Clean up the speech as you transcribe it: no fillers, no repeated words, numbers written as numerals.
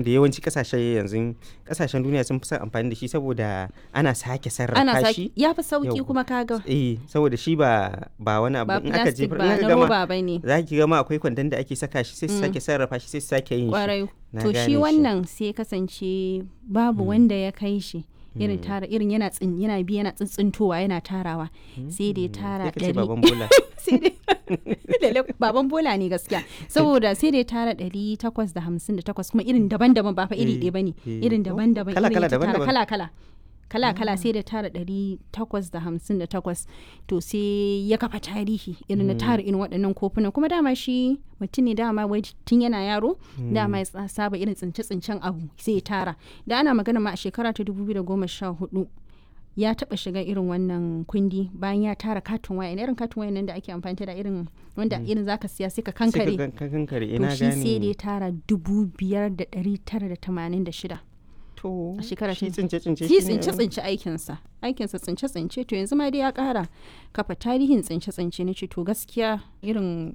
Da yawanci kasashe yanzu, kasashen duniya sun fi son amfani da shi saboda ana sake Ana sarrafa sake shi. ya fi sauki. Yau. Kuma kaga Eh, saboda shi ba wani abu ba in aka plastic jefar in ba aka na gama roba ba ne. za ki gama akwai kwandon da ake saka shi, sai su sake sarrafa shi, sai su sake yin shi. Kwarai. Na To gane shi shi. wannan sai kasance babu wanda ya kai shi irin tara, irin yana tsin, yana bi, yana tsintsintowa, yana tarawa, sai da ya tara Sai ka ce 100. baban bola. Sai dai lalle baban bola ne gaskiya, saboda sai da ya tara 858, kuma irin daban-daban, ba fa iri ɗaya bane, irin daban-daban, Kala irin kala ya ta tara daban-daban. kala-kala kala-kala, sai da tara 858. To sai ya kafa tarihi irin na tara irin waɗannan kofunan. Kuma dama shi mutum ne, dama wai tun yana yaro dama ya saba irin tsince-tsincen abu, sai ya tara. Da ana magana ma a shekara ta 2014 ya taɓa shiga irin wannan kundi bayan ya tara katin waya, irin katin waya nan da ake amfani da, irin wanda irin zaka siya sai ka Sai ka kankare. kankare To ina shi sai da gane. ya tara 5,986 To a shekara shi ta tsince tsince shi tsince tsince aikinsa, aikinsa tsince tsince. To yanzu ma dai ya kara kafa tarihin tsince tsince. Na ce to gaskiya irin